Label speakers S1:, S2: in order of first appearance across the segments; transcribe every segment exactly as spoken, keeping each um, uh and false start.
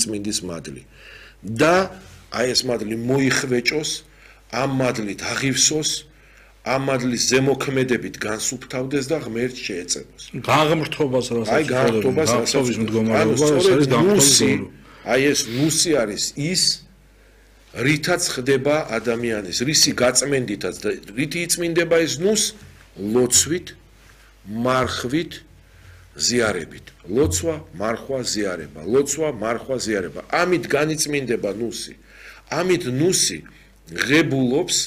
S1: განიწმინდის მადლი და აი ეს მადლი მოიხვეჭოს ამ მადლით აღივსოს ამ მადლის ზემოქმედებით განსუფთავდეს და ღმერთს შეეწებოს.
S2: გაღმრთობას რასაც
S1: აი გაღმრთობას რასაც
S2: მდგომარეობა არის
S1: გაღმრთობა. აი ეს ნუსი არის ის რითაც ხდება ადამიანის რისი გაწმენდითაც და რითი იწმინდება ეს ნუს ლოცვით, მარხვით, ზიარებით. ლოცვა, მარხვა, ზიარება. ლოცვა, მარხვა, ზიარება. ამით განიწმინდება ნუსი. ამით ნუსი ღებულობს,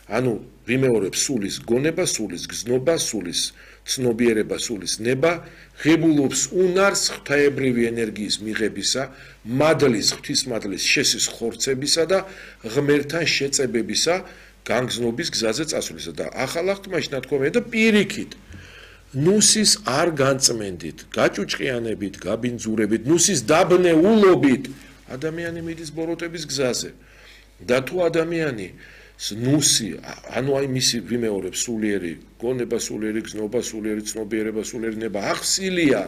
S1: ანუ ვიმეორებს სულის გონება, სულის გზნობა, სულის ცნობიერება, სულის ნება, ღებულობს უნარს ღვთაებრივი ენერგიის მიღებისა, მადლის, ღვთისმადლის შესის ხორცებისა და ღმერთთან შეწებებისა, განგზნობის გზაზე წასვლისა და ახალ აღთქმაში ნათქვამია და პირიქით ნუსის არ განწმენდით, გაჭუჭყიანებით, გაბინძურებით, ნუსის დაბნეულობით ადამიანი მიდის ბოროტების გზაზე. და თუ ადამიანი ნუსი, ანუ აი მისი ვიმეორებს სულიერი გონება, სულიერი გზნობა, სულიერი ცნობიერება, სულიერი ნება ახსილია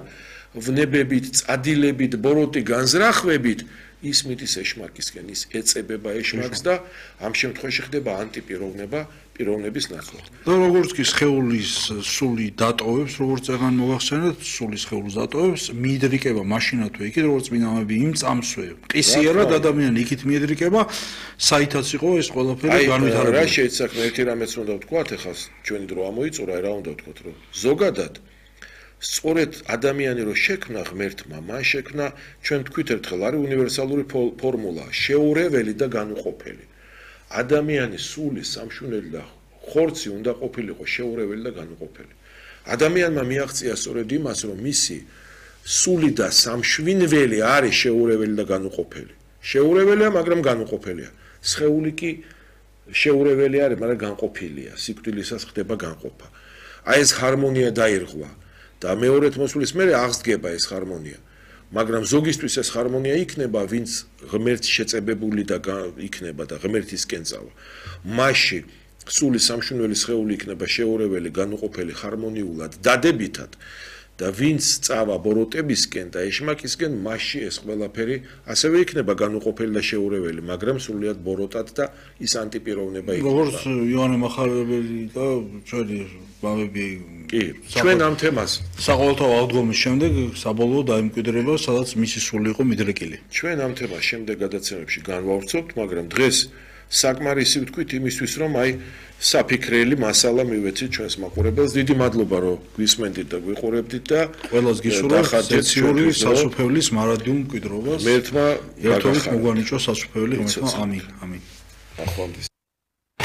S1: ვნებებით, წადილებით, ბოროტი განზრახვებით, ის მიდის ეშმაკისკენ, ის ეწებება ეშმაკს და ამ შემთხვევაში ხდება ანტიპიროვნება, პიროვნების ნაცვლად.
S2: და როგორც კი სხეულის სული დატოვებს, როგორც წეგან მოგახსენეთ, სულის სხეულს დატოვებს, მიიდრიკება მაშინათვე იქით, როგორც წმინდანები იმ წამსვე. ყისიერად ადამიანი იქით მიიდრიკება, საითაც იყო ეს ყველაფერი განვითარებული.
S1: რა შეიძლება ერთი რამეც უნდა ვთქვათ, ეხლა ჩვენი დრო ამოიწურა, რა უნდა ვთქვათ, რომ ზოგადად სწორედ ადამიანი რო შექმნა ღმერთმა, მან შექმნა ჩვენ თქვით ერთხელ არის უნივერსალური ფორმულა, შეურეველი და განუყოფელი. ადამიანის სული სამშვენელი და ხორცი უნდა ყოფილიყო შეურეველი და განუყოფელი. ადამიანმა მიაღწია სწორედ იმას, რომ მისი სული და სამშვენელი არის შეურეველი და განუყოფელი. შეურეველია, მაგრამ განუყოფელია. სხეული კი შეურეველი არის, მაგრამ განყოფილია. სიკვდილისას ხდება განყოფა. აი ეს ჰარმონია დაირღვა და მეორეთ მოსვლის მერე აღსდგება ეს ჰარმონია. მაგრამ ზოგისთვის ეს ჰარმონია იქნება, ვინც ღმერთს შეწებებული და იქნება და ღმერთისკენ წავა. მასში სული სამშვენელი სხეული იქნება შეურეველი, განუყოფელი, ჰარმონიულად, დადებითად და ვინც წავა ბოროტებისკენ და ეშმაკისკენ, მასში ეს ყველაფერი ასევე იქნება განუყოფელი და შეურეველი, მაგრამ სრულიად ბოროტად და ის ანტიპიროვნება იქნება.
S2: როგორც იოანე მახარებელი და ჩვენი ბავები
S1: კი, ჩვენ ამ თემას
S2: საყოველთაო აღდგომის შემდეგ საბოლოო დაიმკვიდრება, სადაც მისი სული იყო მიდრეკილი.
S1: ჩვენ ამ თემას შემდეგ გადაცემებში განვავრცობთ, მაგრამ დღეს საკმარისი ვთქვით იმისთვის, რომ აი საფიქრელი მასალა მივეცით ჩვენს მაყურებელს. დიდი მადლობა, რომ გვისმენდით და გვიყურებდით და
S2: ყველას გისურვებთ სეციური სასופევლის მარადიულ მკვიდრობას.
S1: ღმერთმა
S2: ერთობით მოგვანიჭოს სასופეველი ღმერთმა. ამინ. ამინ.
S1: ახლა